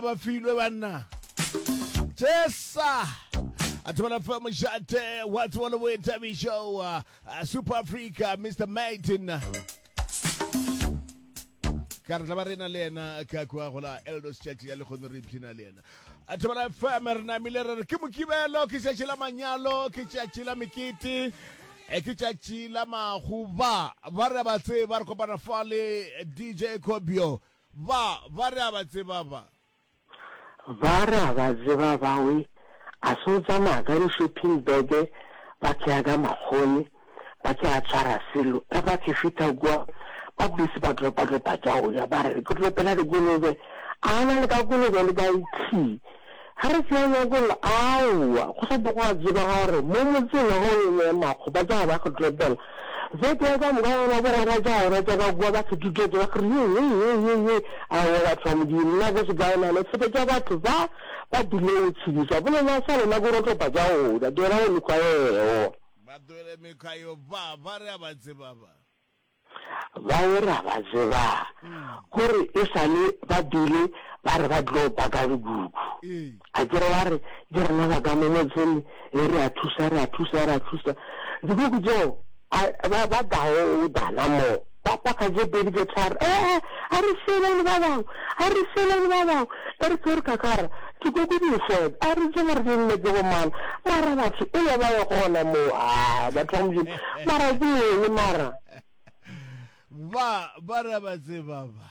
Ba filwe banna. Jesa. A thobela fa mošate wa tsebo le boithabišo uh, Super Africa Mr Martin. Ka re tla ba rena le yena ka kua go la Eldos Church ya lekgono re ipshina le yena. A thobela FM re namile re re ke mokibelo ke tšatši la manyalo ke tšatši la mekete e ke tšatši la mahu ba ba re ba tseba re kopana fa le DJ Kobio Ba, ba re a ba tseba ba. Ba re a ba tseba ba we a se o tsamaya ka di shopping bag ba ke ka makgone ba ke a tshwara selo ge ba ke fitha kua ba busy ba dropa dropa tša go ja ba re ke dropela dikolobe a na le ka kolobe le ka ithii Ga re tsea nyakollo, aowa, go sa tlo gwa tsebega gore mo motseng wa go e makgo ba tla ba go tlepela. Beke ya ka moka gona bogwera tša gona tša ka kua ba fetutetse ba re ye ye ye ye ye, aowa batho ba Modimo, nna ke se kae nane tshepetša batho ba ba tlile go tshedisa bolela sa lena ke rotopa tša go ja, tlohela go mekgwa eo. Ba tlohele mekgwa eo, ba, ba re a ba tseba ba. Ba e ra ba tseba gore e sa le ba bile ba re ba tlo paka dikuku. A ke re ba re ke rena ba ka mo motseng e re a thusa re a thusa re a thusa. Dikuku tseo ba ba tao dana mo ba paka tse pedi tse tharo. Eh a re sele le ba bangwe a re sele le ba bangwe e re ke re kakara dikuku di fela a re tsebe gore di nne ke bo mang mara batho e be ba ye gona mo a batho ba Modimo mara ke eng mara. Ba, ba re a ba tseba ba.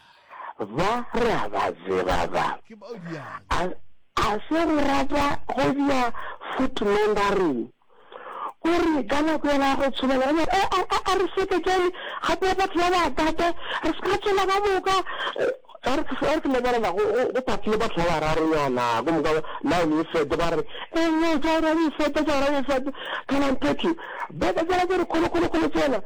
Ba re a ba tseba ba. Ke bao diang. A, a se go rata go dia foot numbering. O re ka nako yela ya go tshobela, o re, a, a, a re seketšane gape batho ba ba tate, re se ka tšwela ka moka. A re, a re ke lebelela go, go, go pakile batho ba bararonyana, go moka line e fete, ba re, e no, tša ora e fete, tša ora e fete. Kana mphetho, beke tsela tse dikgolo kgolo kgolo tsela,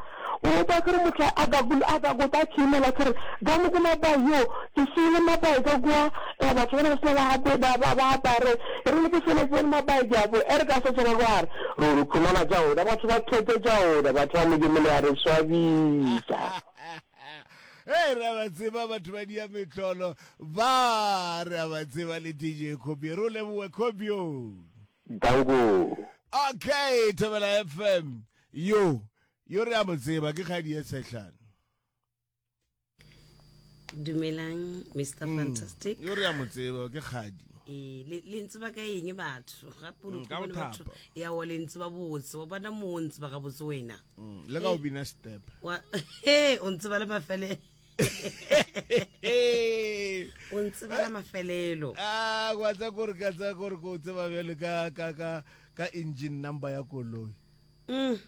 o ba kere motho a ka a ka gota a khimela kere ka mo ko mabai yo, ke siile mabai ka kua, eh, batho bana ba sena ba ape, ba, ba, ba apare, e rile ke feletse le mabai ke a bo, e re ka se tsena ka gare, re re khumana tša oda, batho ba thete tša oda, batho ba Modimo le a re swabisa. Hey, re a ba tseba batho ba dia metlolo ba re a ba tseba le DJ Kobi re o leboe Kobio Danko. Okay Thobela FM yo yo re a mo tseba ke kgadi e tshehlana Dumelang Mr Fantastic. Yo re a mo tseba ke kgadi. Ee, le le ntseba ka eng batho gape o Mm, ka bone go batho thapa. ya wa le ntseba botse wa bona mo o ntseba gabotse wena Mm, le ka o bina step. wa he o ntseba le mafele o ntseba la mafelelo Ah, wa tsa gore ka tsa gore ko tseba bjale ka ka ka ka engine number ya koloi. Mm.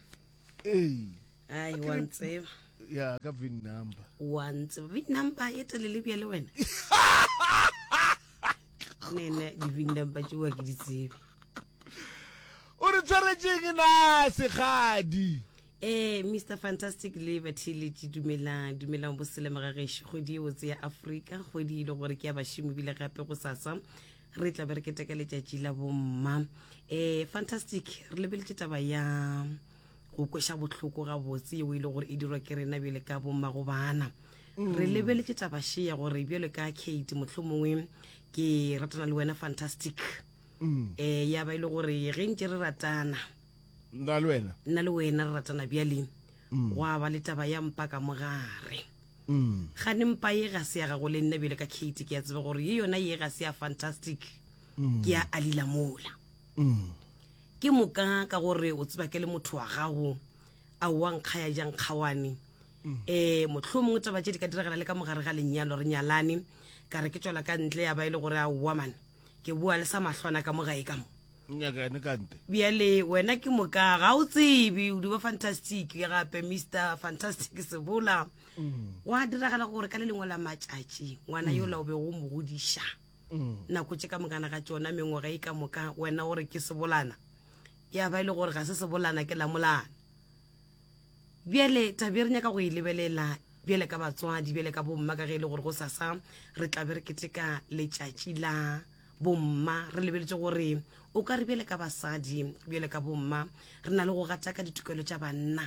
Ee. Ai wa ntseba Ya ka VIN number. wa ntseba vin number e telele bjale wena nene di-vin number tšeoa ke di tsebe O re tshwaretšeng na segadi? Ee, Mr Fantastic le batheeletši dumelang, dumelang boselema ga gešo. Kgwedi e botse ya Afrika, kgwedi e le gore ke ya bašomi bile gape go sasa re tla be re keteka letšatši la bomma. Eh, Fantastic, re lebeletše taba ya go kweša bohloko gabotse yeo e le gore e dirwa ke rena bjale ka bomma go bana. Re lebeletše taba še ya gore bjale ka Kate mohlomongwe ke ratana le wena Fantastic. Eh, ya ba e le gore ge ntše re ratana Nna le wena. Nna le wena re ratana bjale. Gwa ba le taba ya mpa ka mogare. Gane mpa ye ga se ya gago le nna bjale ka Kate ke a tseba gore ye yona ye ga se ya Fantastic. Ke ya Alila mola. Ke moka ka gore o tseba ke le motho wa gago a wa nkga ya jang kgawane. Eh mohlomongwe taba tše di ka diragala le ka mogare ga lenyalo re nyalane ka re ke tšwela ka ntle ya ba e le gore a wa man ke boa le sa mahlwana ka mo gae ka mo. Nyakane ka nte. Bjale wena ke moka ga o tsebe o di ba Fantastic gape Mister Fantastic Sebola. Gwa diragala gore ka le lengwe la matšatši ngwana yola o bego o mo godiša nako tše ka mokana ga tšona mengwaga e ka moka wena o re ke sebolana ya ba e le gore ga se sebolana ke lamolana. Bjale taba e re nyaka go e lebelela bjale ka batswadi bjale ka bomma ka ge e le gore go sasa re tla be re keteka letšatši la bomma re lebeletše gore o ka re bjale ka basadi bjale ka bomma re na le go gataka ditokelo tša banna.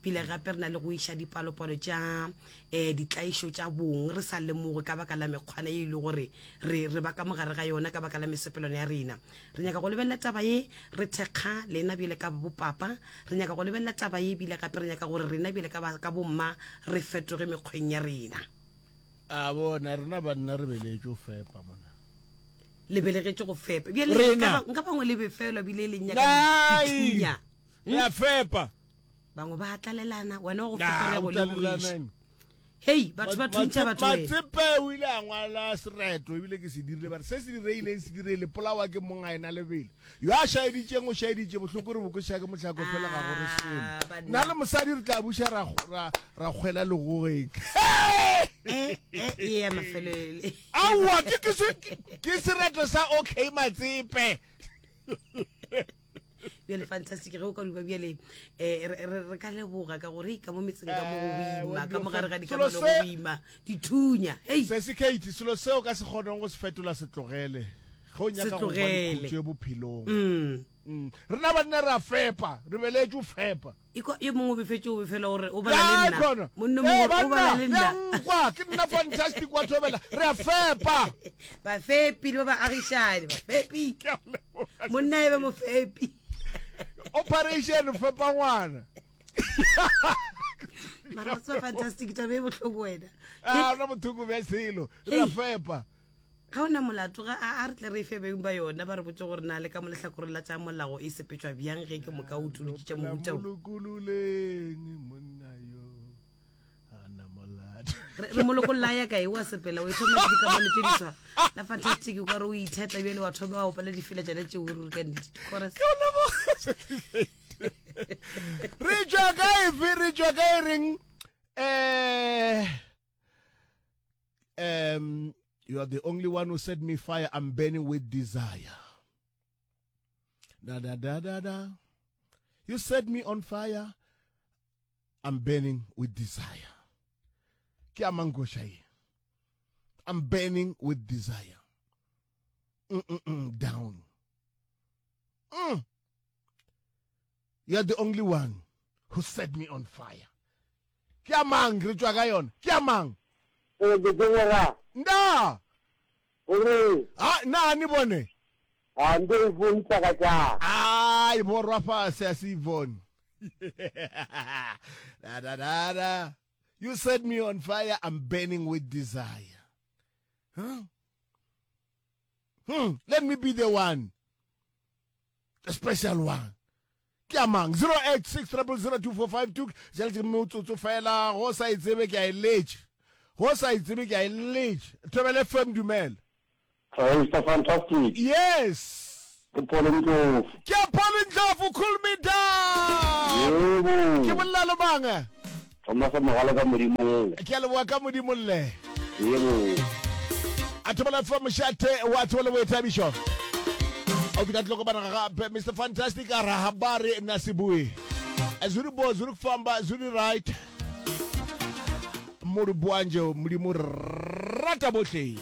Bile gape re na le go iša dipalopalo tša um ditlaišo tša bong re sa lemoge ka baka la mekgwana ye e le gore re re ba ka mogare ga yona ka baka la mesepelwana ya rena. Re nyaka go lebelela taba ye re thekga lena bjale ka bopapa. Re nyaka go lebelela taba ye bile gape re nyaka gore rena bjale ka ba ka bomma re fetoge mekgweng ya rena. A bona rena banna re beletše go fepa mona. Le belegetše go fepa. Bjale nka nka bangwe le befelwa bile le nyaka dithunya. Re a fepa. Bangwe ba tlalelana wena wa go fepa le go lebogiša. Hei, batho ba thuntšha batho wena. Matsepe o ile a ngwala sereto ebile ke se dirile ba re se se direileng se direile polawa ke mong a ena lebelo yo a šaeditšeng o šaeditše bohloko re bokoša ke mohlako fela ga go re selo Ah, banna. nna le mosadi re tla buša ra ra ra kgwela legogeng Eh, eh, e ya mafelele. aowa ke ke se ke sereto sa okay Matsepe Bjale fantastic ge o ka duba bjale eh, re ka leboga ka gore ka mo metseng ka mo go eh, boima ka mo gare ga dikamano go boima dithunya hei se se Kate selo seo ka se kgoneng go se fetola se tlogele ge o nyaka go ba le khutšo bophelong mm. Mm. Rena banna re a fepa re beletše o fepa Iko yo mongwe o befetše o befela gore o bala le nna. Monna mongwe o bala le nna. Nkwa ke nna fantastic wa thobela re a fepa. Bafepi le ba ba agišane bafepi. Monna e be mofepi. Operation fepa ngwana. Mara wa tseba fantastic taba e bohloko wena. Ah, ona bothoko bja selo. Re a fepa. Ga o na molato, ga a, a re tle re e fe beng ba yona, ba re botše gore na le ka mo lehlakoreng la tša molao e sepetšwa bjang ge ke moka o utolotše tša mohuta wo. Molokololeng monna yo a na molato. Re, re mo lokolla a ya kae? O a sepela, o e thoma ke dikamano tše diswa. La fantastic, o ka re o itheta bjale wa thoma wa opela difela tšona tšeo ruri ka nnete. Chorus. Ke o leboga. Re tšwa kae fe? Re tšwa kae reng? Eh Um, you are the only one who set me fire. I'm burning with desire. Da da da da da. You set me on fire. I'm burning with desire. Ke I'm burning with desire. Mm -mm -mm, down. Mm. You are the only one who set me on fire. Ke a mang re tšwa ka yona? Ke a mang? Ee, ke tsebega. Nda! Gore. Ha, na ni bone? Ha, nto e bone tsaka tša. Ai, borwa fase a se bone. Da da da da. You set me on fire, I'm burning with desire. Huh? Hmm, let me be the one. The special one. Ke a mang? 086 0002452 jale ke motsotso fela go sa e tsebe ke a e letše. Go sa e tsebe ke a e letše. Thobela FM dumela. Mr Fantastic. Yes. Ke Paul Ndlovu. Ke Paul Ndlovu, cool me down. Yebo. Ke bolela le mang? eh? Thomas Mogale ka Modimo. Ke a leboga ka Modimo lle. Yebo. A thobela fa mošate wa tsebo le boithabišo. O fihla tloko bana gape Mr Fantastic a ra habari na sebui. Zuri bo zuri kufamba zuri right. Mori boanje modimo rata bohle.